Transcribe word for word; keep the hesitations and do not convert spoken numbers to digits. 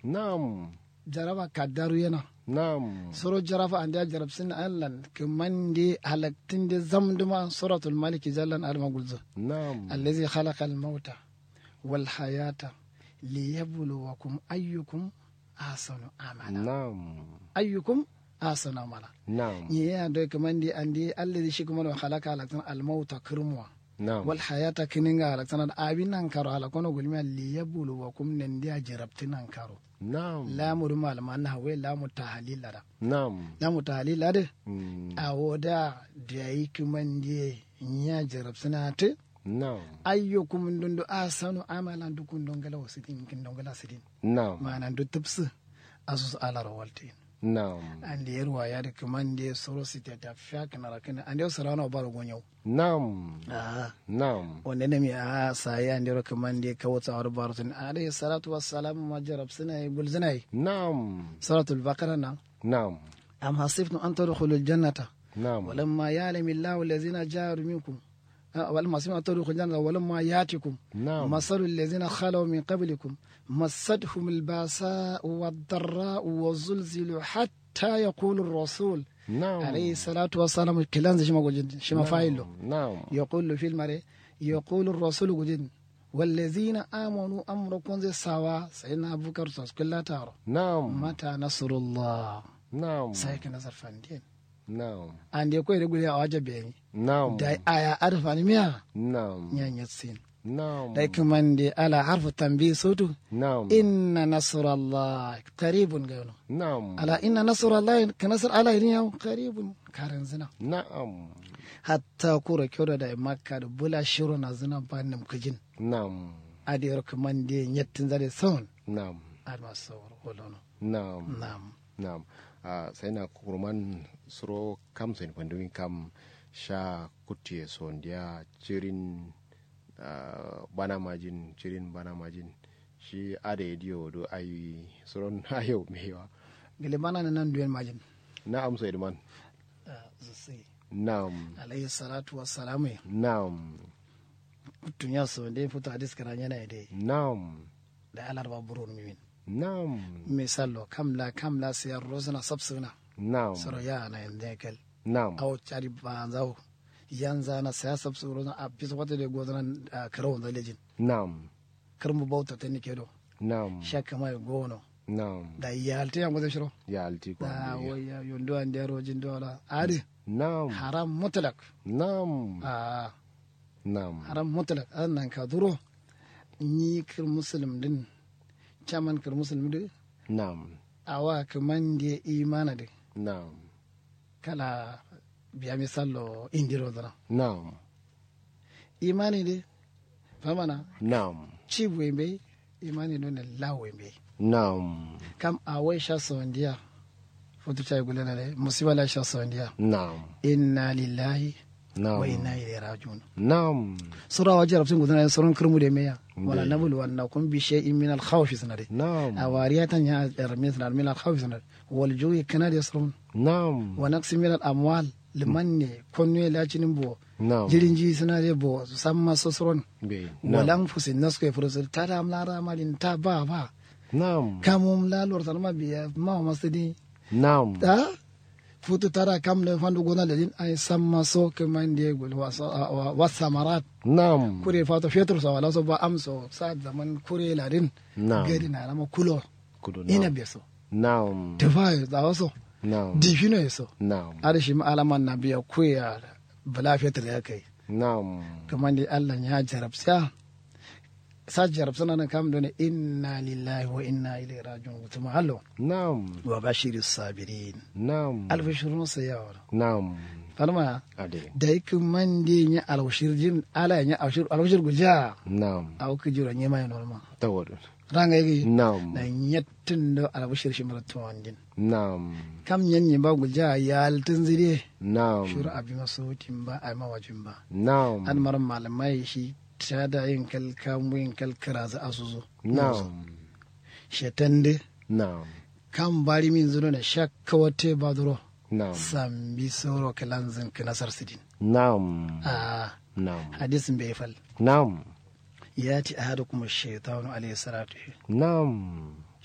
Na'am. Jaraba kaddaru yena. Na'am. Soro jaraba andeya jarabsin allan kǝmande halaktin de zamduma suratul maliki jallan adǝma gulzǝ. Na'am. Allazi khalaqal mauta wal hayata liyabluwakum ayyukum ahsanu amala. Na'am. Ayyukum ahsanu amala. Na'am. Nyi ye ando kǝmande ande allazi shi kǝmando halaka halaktin almauta kǝrmuwa. Na'am. Wal hayata kǝninga halaktin abi nankaro halakono gulmiya liyabluwakum nandiya jarabtin nankaro. Na'am. Lamu duma almanna hawe lamu tahalil lada. Na'am. Lamu tahalil lada. Awo da dayi kǝmande nyiya jarabsina tǝ. Na'am. Ayyukum ndundu ahsanu amalan dukun dongala wasidin kin dongala sidin. Na'am. Mana ndu tǝbsǝ asus alaro waltin. Na'am. Ande yerwa yadǝ kǝmande soro siteta fiya kǝnara kǝna ande soro ana baro gonyau. Na'am. Aha. Na'am. Wande nami a sayi andero kǝmande kawutu awar baro tun alayhi salatu wassalamu ma jarabsina ye gulzina ye. Na'am. Suratul baqara na. Na'am. Am hasibtum an tadkhulul jannata. Na'am. Walamma ya'lamu allahu allazina jahadu minkum. Walamma hasibtum an tadkhulul jannata walamma ya'tikum. Na'am. Masalul lazina khalaw min qablikum. Massathumul ba'sa'u wad darra'u wa zulzilu hatta yaqulur rasul. Na'am. Alayhi salatu wassalam kilanzǝ shima gujin shima fayillo. Na'am. Yaqulu fil mare yaqulur rasul gujin. Wallazina amanu amro konze sawa sayidina abubakar saskulla taro. Na'am. Mata nasrullah. Na'am. Sai kǝnasar fandin. Na'am. Ande koyede gulye awa jabbe yayi. Na'am. Dai aya adǝ fanimiya. Na'am. Nya nyatsin. Na'am. Dai kǝmande ala harfu tambi sotu. Na'am. Inna nasrallah qaribun gano. Na'am. Ala inna nasrallah kǝnasar ala idin yawo qaribun karanzǝna. Na'am. Hatta kuro kyodo dai makka dǝ bula shiro nazǝna ba nǝm kǝjin. Na'am. Adǝ yero kǝmande nyattin zade son. Na'am. Adǝma sawar wolono. Na'am. Na'am. Na'am. Ahh saina kuruman suro kam sain fandumin kam sha kuttuye sondiya cirin. Ahh bana majin cirin bana majin. Shi adǝ ye diyo dǝ ai suron ayo mbeyi wa. Gǝle bana nǝ nanduyen majin. Na'am saidǝ man. Ahh zusi. Na'am. Alayhi salatu wassalamu ye. Na'am. Kuttunya sondiye futu hadis kǝranyena ye dai. Na'am. Dai alarba burun mimin. Na'am. Misallo kamla kamla siyar rozǝna sabsǝgǝna. Na'am. Soro ya'ana yanzǝ ye kal. Na'am. Awo cadi banza wo. Yanzǝ ana siya sabsǝgǝ rozǝna afiso wata dai gozǝna. Kǝrawanza lejin. Na'am. Kǝrmu bauta tanike do. Na'am. Sha kǝma ye gono. Na'am. Dai yalti yango zai shiro. Yalti kwa. Ahh wai yayo nduwa ndeya rojin duwa la adǝ. Na'am. Haram mutlak. Na'am. Ahh. Na'am. Haram mutlak adǝ nanka duro. Nyi kǝr musulum dǝn. Caman kǝr musulum dǝ. Na'am. Awa kǝmande imana dǝ. Na'am. Kala biya misallo indiro dǝna. Na'am. Imani dǝ. Famana. Na'am. Cibu ye mbeyi. Imani done lawo ye mbeyi. Na'am. Kam awai sha sondiya. Futu cayi gulena dai musiba la sha sondiya. Na'am. Inna lillahi. Na'am. Wa inna ilaihi raji'un. Na'am. Sura wa jarabtin gudana suran kǝrmu de meya. Wala nabluwannakum bi shay'in min al khawfi sǝna de. Na'am. Awariyatan ya armi sǝna min al khawfi sǝna de. Wal ju'i kǝna de suran. Na'am. Wa naqsin min al amwal. Limanne konnuye lacinin bo. Na'am. Jirin ji sǝna de bo samma so suran. Wal anfusin nasku ye furusur tada am la ramalin ta ba ba. Na'am. Kamum la lorsanma biya mawa masǝdi. Na'am. Ahh. Futu tada kam dǝ fandu gona ladin ai samma so kǝmande gul. Wasamarat. Na'am. Kure fato fetur so wala so ba amso sa zaman kure ladin. Na'am. Gadi na rama kulo. Kulo na'am. Inabe so. Na'am. Tufa ye zawo so. Na'am. Difino ye so. Na'am. Adǝ shima alaman nabiya kuye ya. Bǝla fetur ya kai. Na'am. Kǝmande allah nya jarabsiya. Sa jarabsǝna dǝn kam done inna lillahi wa inna ilaihi raji'un gutuma allo. Na'am. Wa bashiri sabirin. Na'am. Alfashirun sai ya wala. Na'am. Falma. Adai. Dai kǝmande nya alfashir jin ala nya alfashir gulja. Na'am. Awo kǝjiro nyima ye nolma. Tawadun. Ranga yigi. Na'am. Na nyattǝn do alfashir shimara tuwandin. Na'am. Kam nyanyi ba gulja yaltǝn zǝde. Na'am. Shuru abima sautin ba abima wajin ba. Na'am. Adǝ maro malama ye shi. Tada yin kal kamu yin kal kǝrazǝ asuzu. Na'am. Shetan dǝ. Na'am. Kam bari min zǝ done shakka watte ba duro. Na'am. Sambi soro kǝlanzǝn kǝnasar sǝdin. Na'am. Ahh. Na'am. Hadis mbeyi fal. Na'am. Yati ahadukum ash-shaytanu alayhi salatu. Na'am.